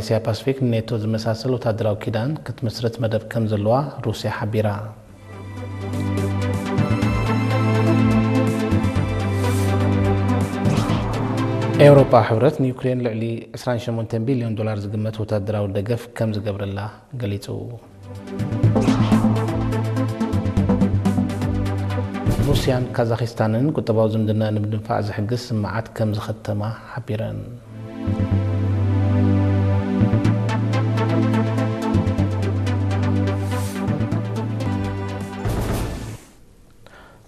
ኤስያ ፓስፊክ ንኔቶ ዝመሳሰል ወታደራዊ ኪዳን ክትምስርት መደብ ከም ዘለዋ ሩስያ ሓቢራ። ኤውሮጳ ሕብረት ንዩክሬን ልዕሊ ዕስራን ሸሞንተን ቢልዮን ዶላር ዝግመት ወታደራዊ ደገፍ ከም ዝገብረላ ገሊጹ። ሩስያን ካዛኺስታንን ቁጠባዊ ዝምድና ንምድንፋዕ ዝሕግዝ ስምምዓት ከም ዝኸተማ ሓቢረን።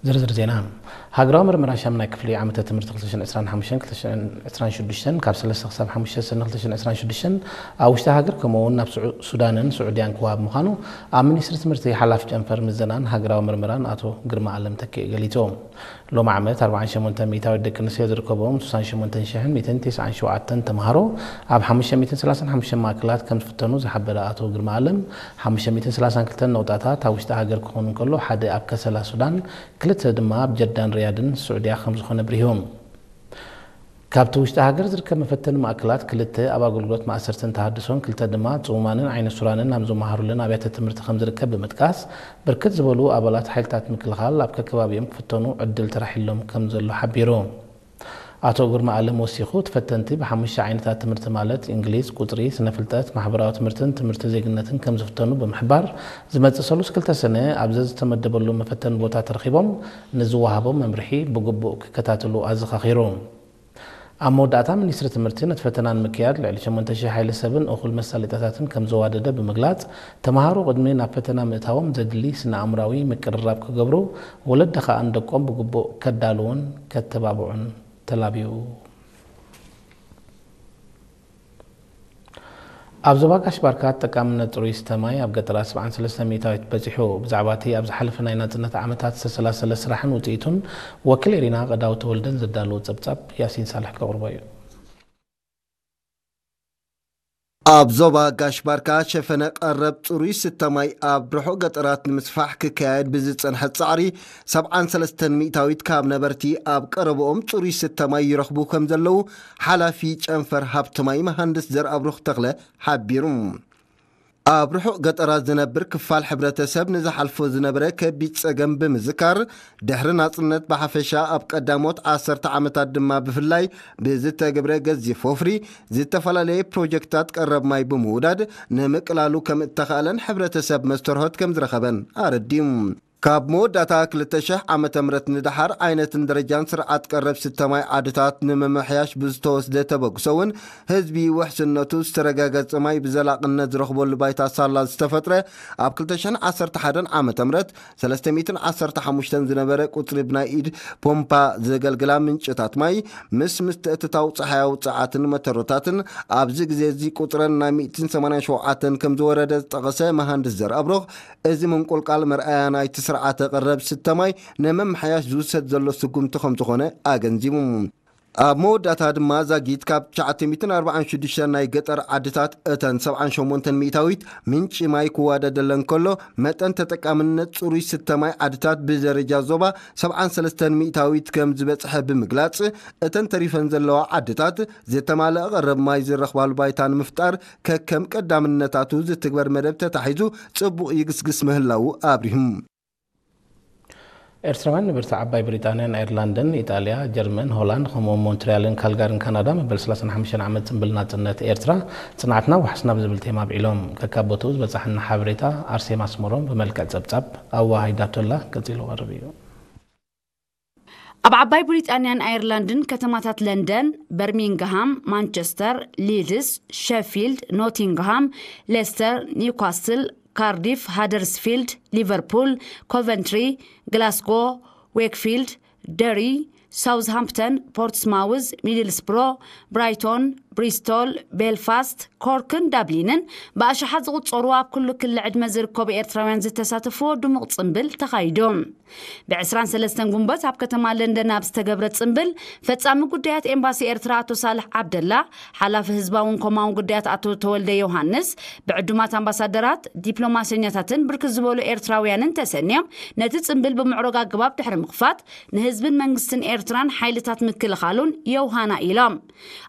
ዝርዝር ዜና። ሃገራዊ ምርመራ ሻምናይ ክፍሊ ዓመተ ትምህርቲ ክልተ ሽሕን ዕስራን ሓሙሽተን ክልተ ሽሕን ዕስራን ሽዱሽተን ካብ ሰለስተ ክሳብ ሓሙሽተ ሰነ ክልተ ሽሕን ዕስራን ሽዱሽተን ኣብ ውሽጢ ሃገር ከምኡ እውን ናብ ስዑ-፣ ሱዳንን ስዑድያን ክወሃብ ምዃኑ ኣብ ሚኒስትሪ ትምህርቲ ሓላፊ ጨንፈር ምዘናን ሃገራዊ ምርመራን ኣቶ ግርማ ኣለም ተኪእ ገሊጹ። ሎሚ ዓመት ኣርባዓን ሸሞንተን ሚእታዊት ደቂ ኣንስትዮ ዝርከብዎም ስሳን ሸሞንተን ሽሕን ሚእትን ተስዓን ሸውዓተን ተምሃሮ ኣብ ሓሙሽተ ሚእትን ሰላሳን ሓሙሽተን ማእከላት ከም ዝፍተኑ ዝሓበረ ኣቶ ግርማ ኣለም፣ ሓሙሽተ ሚእትን ሰላሳን ክልተን ነቑጣታት ኣብ ውሽጢ ሃገር ክኾኑ እንከሎ፣ ሓደ ኣብ ከሰላ ሱዳን፣ ክልተ ድማ ኣብ ጀዳን ሪያድን ስዑድያ ከም ዝኾነ ብሪሁ። ካብቲ ውሽጢ ሃገር ዝርከብ መፈተኒ ማእከላት፣ ክልተ ኣብ ኣገልግሎት ማእሰርትን ተሃድሶን፣ ክልተ ድማ ጽሙማንን ዓይነ ሱራንን ኣብ ዝመሃሩለን ኣብያተ ትምህርቲ ከም ዝርከብ ብምጥቃስ፣ ብርክት ዝበሉ ኣባላት ሓይልታት ምክልኻል ኣብ ከከባቢኦም ክፍተኑ ዕድል ተራሒሎም ከም ዘሎ ሓቢሩ። ኣቶ ግርማ ኣለም ወሲኹ፣ ተፈተንቲ ብሓሙሽተ ዓይነታት ትምህርቲ ማለት እንግሊዝ፣ ቁጽሪ፣ ስነ ፍልጠት፣ ማሕበራዊ ትምህርትን ትምህርቲ ዜግነትን ከም ዝፍተኑ ብምሕባር፣ ዝመጽእ ሰሉስ ክልተ ሰነ ኣብ ዘዝተመደበሉ መፈተኒ ቦታ ተረኺቦም ንዝወሃቦም መምርሒ ብግቡእ ክከታተሉ ኣዘኻኺሩ። ኣብ መወዳእታ፣ ሚኒስትሪ ትምህርቲ ነቲ ፈተና ንምክያድ ልዕሊ ሸሞንተ ሽሕ ሓይሊ ሰብን እኹል መሳለጥያታትን ከም ዘዋደደ ብምግላጽ፣ ተምሃሮ ቅድሚ ናብ ፈተና ምእታዎም ዘድሊ ስነ ኣእምራዊ ምቅርራብ ክገብሩ፣ ወለዲ ከኣ ንደቆም ብግቡእ ከዳልዉን ከተባብዑን ተላብዩ። ኣብ ዞባ ጋሽ ባርካ ተጠቃምነት ጽሩይ ዝስተ ማይ ኣብ ገጠራት ሰብዓን ሰለስተን ሚእታዊት በጺሑ። ብዛዕባ እቲ ኣብ ዝሓለፈ ናይ ናጽነት ዓመታት ዝተሰላሰለ ስራሕን ውጽኢቱን፣ ወኪል ኤሪና ቀዳው ተወልደን ዘዳለዎ ጸብጻብ ያሲን ሳልሕ ከቕርቦ እዩ። ኣብ ዞባ ጋሽ ባርካ ሸፈነ ቀረብ ጽሩይ ዝስተ ማይ ኣብ ርሑቕ ገጠራት ንምስፋሕ ክካየድ ብዝጸንሐ ጻዕሪ፣ ሰብዓን ሰለስተን ሚእታዊት ካብ ነበርቲ ኣብ ቀረብኦም ጽሩይ ዝስተ ማይ ይረኽቡ ከም ዘለዉ ሓላፊ ጨንፈር ሃብቲ ማይ መሃንድስ ዘርኣብሩኽ ተኽለ ሓቢሩ። ኣብ ርሑቕ ገጠራት ዝነብር ክፋል ሕብረተሰብ ንዝሓልፎ ዝነበረ ከቢድ ጸገም ብምዝካር፣ ድሕሪ ናጽነት ብሓፈሻ ኣብ ቀዳሞት ዓሰርተ ዓመታት ድማ ብፍላይ ብዝተገብረ ገዚፍ ወፍሪ ዝተፈላለየ ፕሮጀክታት ቀረብ ማይ ብምውዳድ ንምቅላሉ ከም እተኻእለን ሕብረተሰብ መስተርሆት ከም ዝረኸበን ኣረዲኡ። ካብ መወዳእታ ክልተ ሽሕ ዓመተ ምህረት ንደሓር ዓይነትን ደረጃን ስርዓት ቀረብ ዝስተ ማይ ዓድታት ንምምሕያሽ ብዝተወስደ ተበግሶ እውን ህዝቢ ውሕስነቱ ዝተረጋገጸ ማይ ብዘላቕነት ዝረኽበሉ ባይታ ሳላ ዝተፈጥረ ኣብ ክልተ ሽሕን ዓሰርተ ሓደን ዓመተ ምህረት ሰለስተ ሚእትን ዓሰርተ ሓሙሽተን ዝነበረ ቁጽሪ ብናይ ኢድ ፖምፓ ዘገልግላ ምንጭታት ማይ ምስ ምትእትታው ጸሓያዊ ጸዓትን መተሮታትን ኣብዚ ግዜ እዚ ቁጽረን ናብ ሚእትን ሰማንያን ሸውዓተን ከም ዝወረደ ዝጠቐሰ መሃንድስ ዘርኣብሩኽ፣ እዚ ምንቁልቃል መርኣያ ናይቲ ስርዓተ ቀረብ ዝስተ ማይ ንምምሕያሽ ዝውሰድ ዘሎ ስጉምቲ ከም ዝኾነ ኣገንዚቡ። ኣብ መወዳእታ ድማ ዛጊት ካብ ትሽዓተ ሚእትን ኣርባዓን ሽዱሽተን ናይ ገጠር ዓድታት እተን ሰብዓን ሸሞንተን ሚእታዊት ምንጪ ማይ ክዋደደለን ከሎ፣ መጠን ተጠቃምነት ጽሩይ ዝስተ ማይ ዓድታት ብደረጃ ዞባ ሰብዓን ሰለስተን ሚእታዊት ከም ዝበጽሐ ብምግላጽ፣ እተን ተሪፈን ዘለዋ ዓድታት ዝተማልአ ቀረብ ማይ ዝረኽባሉ ባይታ ንምፍጣር ከከም ቀዳምነታቱ ዝትግበር መደብ ተታሒዙ ጽቡቕ ይግስግስ ምህላዉ ኣብሪሁ። ኤርትራውያን ነበርቲ ዓባይ ብሪጣንያን ኣየርላንድን፣ ኢጣልያ፣ ጀርመን፣ ሆላንድ፣ ከምኡውን ሞንትሪያልን ካልጋርን ካናዳ፣ መበል ሰላሳን ሓሙሽተን ዓመት ጽምብል ናጽነት ኤርትራ፣ ጽንዓትና ዋሕስና ብዝብል ቴማ ኣብዒሎም። ከካብ ቦትኡ ዝበጻሓና ሓበሬታ ኣርሴማ ኣስመሮም ብመልክዕ ጸብጻብ ኣዋሃሂዳቶላ ቀጺሉ ቀርብ እዩ። ኣብ ዓባይ ብሪጣንያን ኣየርላንድን ከተማታት ለንደን፣ በርሚንግሃም፣ ማንቸስተር፣ ሊድስ፣ ሸፊልድ፣ ኖቲንግሃም፣ ሌስተር፣ ኒውካስትል፣ ካርዲፍ፣ ሃደርስፊልድ፣ ሊቨርፑል፣ ኮቨንትሪ፣ ግላስጎ፣ ዌክፊልድ፣ ደሪ፣ ሳውዝሃምፕተን፣ ፖርትስማውዝ፣ ሚድልስብሮ፣ ብራይቶን፣ ብሪስቶል፣ ቤልፋስት፣ ኮርክን ዳብሊንን ብኣሽሓት ዝቑጸሩ ኣብ ኩሉ ክሊ ዕድመ ዝርከቡ ኤርትራውያን ዝተሳተፍዎ ድሙቕ ጽምብል ተኻይዱ። ብ ዕስራን ሰለስተን ጉንበት ኣብ ከተማ ለንደን ኣብ ዝተገብረ ጽምብል፣ ፈጻሚ ጉዳያት ኤምባሲ ኤርትራ ኣቶ ሳልሕ ዓብደላ፣ ሓላፊ ህዝባውን ኮማውን ጉዳያት ኣቶ ተወልደ ዮሃንስ፣ ብዕዱማት ኣምባሳደራት፣ ዲፕሎማሰኛታትን ብርክት ዝበሉ ኤርትራውያንን ተሰንዮም፣ ነቲ ጽምብል ብምዕሩግ ኣገባብ ድሕሪ ምኽፋት፣ ንህዝብን መንግስትን ኤርትራን ሓይልታት ምክልኻሉን የውሃና ኢሎም።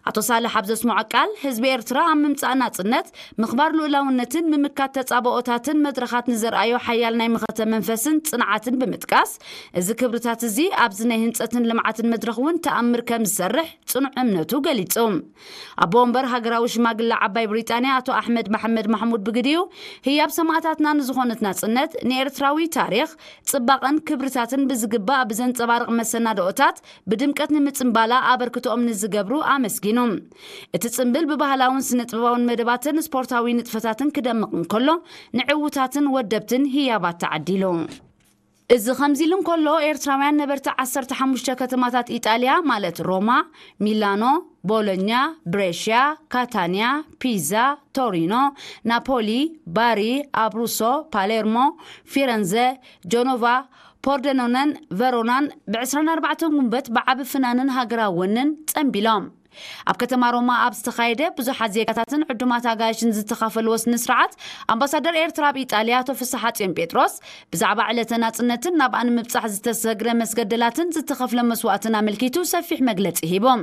ኣቶ ሳልሕ ኣብ ዘስምዖ ቃል፣ ህዝቢ ኤርትራ ኣብ ምምጻእ ናጽነት፣ ምኽባር ልኡላውነትን ምምካት ተጻብኦታትን መድረኻት ንዘርኣዮ ሓያል ናይ መኸተ መንፈስን ጽንዓትን ብምጥቃስ፣ እዚ ክብርታት እዚ ኣብዚ ናይ ህንጸትን ልምዓትን መድረኽ እውን ተኣምር ከም ዝሰርሕ ጽኑዕ እምነቱ ገሊጹ። ኣቦ ወንበር ሃገራዊ ሽማግለ ዓባይ ብሪጣንያ ኣቶ ኣሕመድ መሐመድ ማሕሙድ ብግዲኡ፣ ህያብ ሰማእታትና ንዝኾነት ናጽነት፣ ንኤርትራዊ ታሪኽ፣ ጽባቐን ክብርታትን ብዝግባእ ብዘንጸባርቕ መሰናድኦታት ብድምቀት ንምጽንባላ ኣበርክቶኦም ንዝገብሩ ኣመስጊኑ። እቲ ጽምብል ብባህላውን ስነ-ጥበባውን መደባትን ስፖርታዊ ንጥፈታትን ክደምቕ እንከሎ፣ ንዕዉታትን ወደብትን ህያባት ተዓዲሉ። እዚ ከምዚ ኢሉ እንከሎ፣ ኤርትራውያን ነበርቲ ዓሰርተ ሓሙሽተ ከተማታት ኢጣልያ፣ ማለት ሮማ፣ ሚላኖ፣ ቦሎኛ፣ ብሬሽያ፣ ካታንያ፣ ፒዛ፣ ቶሪኖ፣ ናፖሊ፣ ባሪ፣ ኣብሩሶ፣ ፓሌርሞ፣ ፊረንዘ፣ ጀኖቫ፣ ፖርደኖነን ቨሮናን ብ ዕስራን ኣርባዕተን ጉንበት ብዓቢ ፍናንን ሃገራዊ ወንን ጸንቢሎም። ኣብ ከተማ ሮማ ኣብ ዝተኻየደ ብዙሓት ዜጋታትን ዕዱማት ኣጋይሽን ዝተኻፈልዎ ስነ ስርዓት፣ ኣምባሳደር ኤርትራ ኣብ ኢጣልያ ኣቶ ፍስሓጽዮን ጴጥሮስ ብዛዕባ ዕለተ ናጽነትን ናብኣ ንምብጻሕ ዝተሰግረ መስገደላትን ዝተኸፍለ መስዋእትን ኣመልኪቱ ሰፊሕ መግለጺ ሂቦም።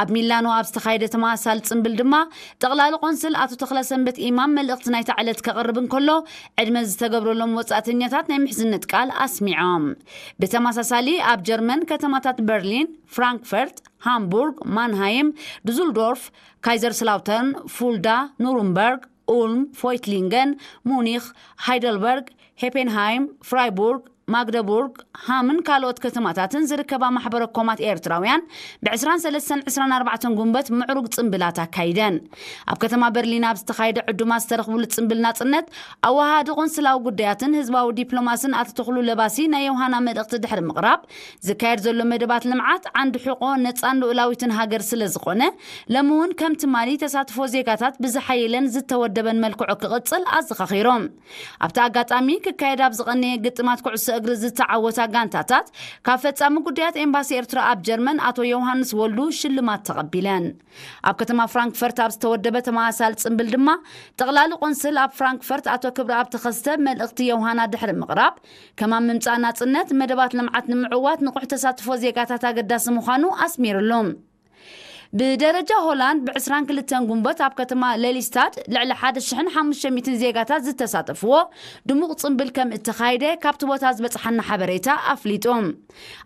ኣብ ሚላኖ ኣብ ዝተኻየደ ተመሳሳሊ ጽምብል ድማ፣ ጠቕላሊ ቆንስል ኣቶ ተኽለሰንበት ኢማም መልእኽቲ ናይታ ዕለት ከቕርብ እንከሎ፣ ዕድመ ዝተገብረሎም ወጻእተኛታት ናይ ምሕዝነት ቃል ኣስሚዖም። ብተመሳሳሊ ኣብ ጀርመን ከተማታት በርሊን፣ ፍራንክፈርት፣ ሃምቡርግ፣ ማንሃይም፣ ዱዙልዶርፍ፣ ካይዘርስላውተርን፣ ፉልዳ፣ ኑሩምበርግ፣ ኡልም፣ ፎይትሊንገን፣ ሙኒኽ፣ ሃይደልበርግ፣ ሄፔንሃይም፣ ፍራይቡርግ፣ ማግደቡርግ፣ ሃምን ካልኦት ከተማታትን ዝርከባ ማሕበረ ኮማት ኤርትራውያን ብ ዕስራን ሰለስተን ዕስራን ኣርባዕተን ጉንበት ምዕሩግ ጽምብላት ኣካይደን። ኣብ ከተማ በርሊን ኣብ ዝተኻየደ ዕዱማት ዝተረኽብሉ ጽምብል ናጽነት፣ ኣወሃሃዲ ቆንስላዊ ጉዳያትን ህዝባዊ ዲፕሎማስን ኣቶ ተኽሉ ለባሲ ናይ ዮሃና መልእኽቲ ድሕሪ ምቕራብ፣ ዝካየድ ዘሎ መደባት ልምዓት ዓንዲ ሕቆ ነጻን ልኡላዊትን ሃገር ስለ ዝኾነ፣ ሎሚ እውን ከም ትማሊ ተሳትፎ ዜጋታት ብዝሓየለን ዝተወደበን መልክዑ ክቕጽል ኣዘኻኺሮም። ኣብቲ ኣጋጣሚ፣ ክካየድ ኣብ ዝቐነየ ግጥማት ኩዕሶ እግሪ ዝተዓወታ ጋንታታት፣ ካብ ፈጻሚ ጉዳያት ኤምባሲ ኤርትራ ኣብ ጀርመን ኣቶ ዮውሃንስ ወልዱ ሽልማት ተቐቢለን። ኣብ ከተማ ፍራንክፈርት ኣብ ዝተወደበ ተመሳሳሊ ጽምብል ድማ፣ ጠቕላሊ ቆንስል ኣብ ፍራንክፈርት ኣቶ ክብረኣብ ተኸስተ መልእኽቲ ዮውሃና ድሕሪ ምቕራብ፣ ከማን ምምጻእ ናጽነት፣ መደባት ልምዓት ንምዕዋት ንቑሕ ተሳትፎ ዜጋታት ኣገዳሲ ምዃኑ ኣስሚርሉ። ብደረጃ ሆላንድ፣ ብ ዕስራን ክልተን ጉንበት ኣብ ከተማ ሌሊስታድ ልዕሊ ሓደ ሽሕን ሓሙሽተ ሚእትን ዜጋታት ዝተሳተፍዎ ድሙቕ ጽምብል ከም እተኻየደ ካብቲ ቦታ ዝበጽሓና ሓበሬታ ኣፍሊጡ።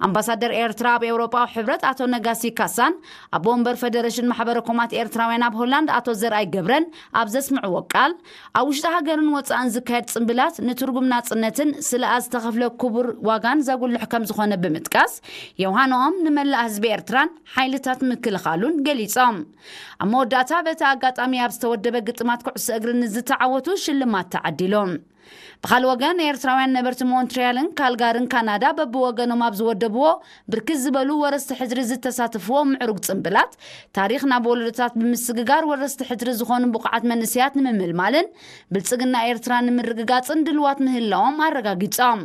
ኣምባሳደር ኤርትራ ኣብ ኤውሮጳዊ ሕብረት ኣቶ ነጋሲ ካሳን ኣቦ ወንበር ፈደረሽን ማሕበረ ኮማት ኤርትራውያን ኣብ ሆላንድ ኣቶ ዘርኣይ ገብረን ኣብ ዘስምዕዎ ቃል፣ ኣብ ውሽጢ ሃገርን ወጻእን ዝካየድ ጽምብላት ንትርጉም ናጽነትን ስለኣ ዝተኸፍለ ክቡር ዋጋን ዘጉልሕ ከም ዝኾነ ብምጥቃስ፣ ዮሃንኦም ንመላእ ህዝቢ ኤርትራን ሓይልታት ምክልኻሉን ገሊጾም። ኣብ መወዳእታ፣ በቲ ኣጋጣሚ ኣብ ዝተወደበ ግጥማት ኩዕሶ እግሪ ንዝተዓወቱ ሽልማት ተዓዲሎም። ብኻልእ ወገን፣ ኤርትራውያን ነበርቲ ሞንትሪያልን ካልጋርን ካናዳ በብወገኖም ኣብ ዝወደብዎ ብርክት ዝበሉ ወረስቲ ሕድሪ ዝተሳተፍዎ ምዕሩግ ጽምብላት፣ ታሪኽ ናብ ወለዶታት ብምስግጋር ወረስቲ ሕድሪ ዝኾኑ ብቑዓት መንእሰያት ንምምልማልን ብልጽግና ኤርትራ ንምርግጋጽን ድልዋት ምህላዎም ኣረጋጊጾም።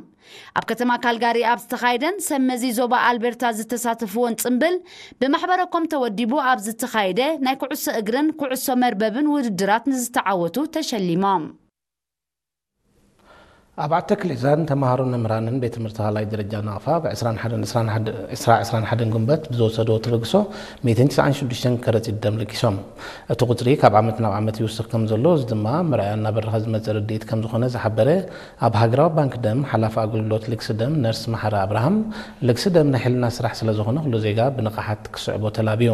ኣብ ከተማ ካልጋሪ ኣብ ዝተኻየደን ሰብ መዚ ዞባ ኣልቤርታ ዝተሳተፍዎን ጽምብል፣ ብማሕበረ ኮም ተወዲቡ ኣብ ዝተኻየደ ናይ ኩዕሶ እግርን ኩዕሶ መርበብን ውድድራት ንዝተዓወቱ ተሸሊሞም። ኣብ ዓዲ ተክሊዛን ተምሃሮን መምህራንን ቤት ትምህርቲ ካልኣይ ደረጃ ናቕፋ ብ ዕስራን ሓደን ዕስራን ሓደን ዕስራ ዕስራን ሓደን ጉንበት ብዝወሰድዎ ተበግሶ ሚእትን ትስዓን ሽዱሽተን ከረጺት ደም ለጊሶም። እቲ ቁጽሪ ካብ ዓመት ናብ ዓመት ይውስኽ ከም ዘሎ፣ እዚ ድማ መርኣያ እናበረኸ ዝመጽእ ርድኢት ከም ዝኾነ ዝሓበረ ኣብ ሃገራዊ ባንክ ደም ሓላፊ ኣገልግሎት ልግሲ ደም ነርስ መሓሪ ኣብርሃም፣ ልግሲ ደም ናይ ሕልና ስራሕ ስለ ዝኾነ ኩሉ ዜጋ ብንቕሓት ክስዕቦ ተላብዩ።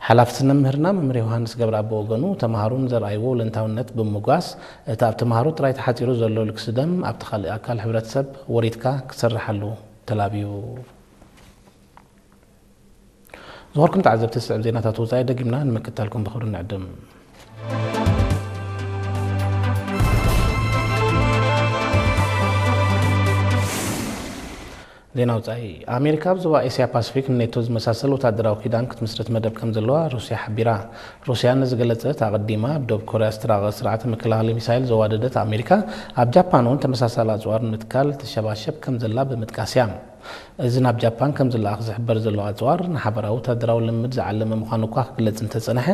ሓላፊ ስነ ምህርና መምህር ዮሃንስ ገብረኣብ ብወገኑ፣ ተምሃሮ ንዘርኣይዎ ወለንታውነት ብምምጓስ፣ እቲ ኣብ ተምሃሮ ጥራይ ተሓጺሩ ዘሎ ልግሲ ደም ኣብቲ ካልእ ኣካል ሕብረተሰብ ወሪድካ ክስርሓሉ ተላብዩ። ዝኸበርኩም ተዓዘብቲ፣ ዝስዕብ ዜናታት ወጻኢ ደጊምና ንምክትታልኩም ብኽብሪ ንዕድም። ዜና ወጻኢ። ኣሜሪካ ኣብ ዞባ ኤስያ ፓሲፊክ ንኔቶ ዝመሳሰል ወታደራዊ ኪዳን ክትምስርት መደብ ከም ዘለዋ ሩስያ ሓቢራ። ሩስያ ነዚ ገለጸት ኣቐዲማ ኣብ ደቡብ ኮርያ ዝተራቐቐ ስርዓተ መከላኸሊ ሚሳይል ዘዋደደት ኣሜሪካ፣ ኣብ ጃፓን እውን ተመሳሳሊ ኣጽዋር ንምትካል ትሸባሸብ ከም ዘላ ብምጥቃስ እያ። እዚ ናብ ጃፓን ከም ዝለኣኽ ዝሕበር ዘሎ ኣጽዋር፣ ንሓበራዊ ወታደራዊ ልምምድ ዝዓለመ ምዃኑ እኳ ክግለጽ እንተጸንሐ፣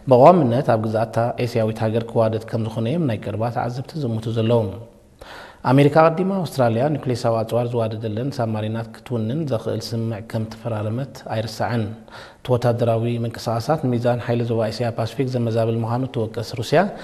ብቐዋምነት ኣብ ግዝኣታ ኤስያዊት ሃገር ክዋደድ ከም ዝኾነ እዮም ናይ ቀረባ ተዓዘብቲ ዝዝምቱ ዘለዉ። ኣሜሪካ ኣቐዲማ ኣውስትራልያ ኒኩሌሳዊ ኣጽዋር ዝዋደደለን ሳብማሪናት ክትውንን ዘኽእል ስምምዕ ከም ተፈራረመት ኣይርሳዕን። እቲ ወታደራዊ ምንቅስቓሳት ንሚዛን ሓይሊ ዞባ እስያ ፓሲፊክ ዘመዛብል ምዃኑ እትወቅስ ሩስያ፣